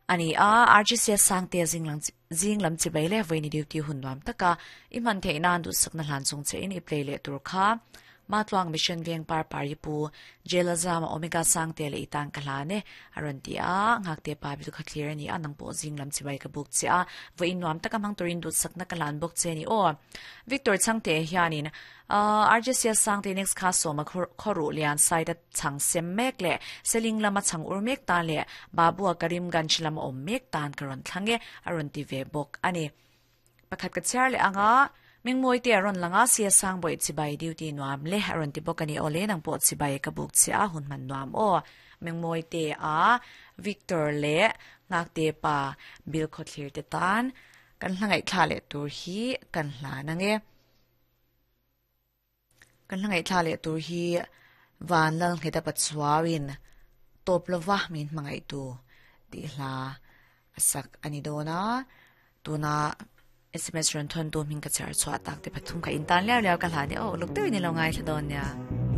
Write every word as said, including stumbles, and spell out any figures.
Ani a R G C Sangte zinglang zinglam chibai le voini duty hun nuam taka i man thei nan du sakna hlan chung che in i play le tur kha Matluang Mission Veng Par Pari Pu Jelazama Omega Sangte le itang kalane aron ti a ngak te pa bi kha clear ani anang po zinglam chibai ka buk che a voi nuam taka mang turin du sakna kalan bok che ni o. Victor Changte hianin R J C Sangte, next kha soma khoru lian side chang sem mek le seling lama chang ur mek ta le babu Karim Ganj lama om mek tan karon thlange aron ti ve bok ani. Pakhat ka char le anga ming moi te aron langa sia sang boi chibai, duty nuam le aron ti bok ani. Ole, nang po chibai ka buk chi a, hun man nuam o. Ming moi te a, Victor le ngak te pa bil khothlir te tan kan hlangai thla le tur hi kan hla nange. Kan hlangai thla le tur hi van lal ngeta patsuawin top lova min mangai tu ti hla asak ani dona. Tuna S M S ron thon tu ming ka char chwa tak te pathum ka intan leo leo ka hla ni o luk te ni lo ngai thla don nya.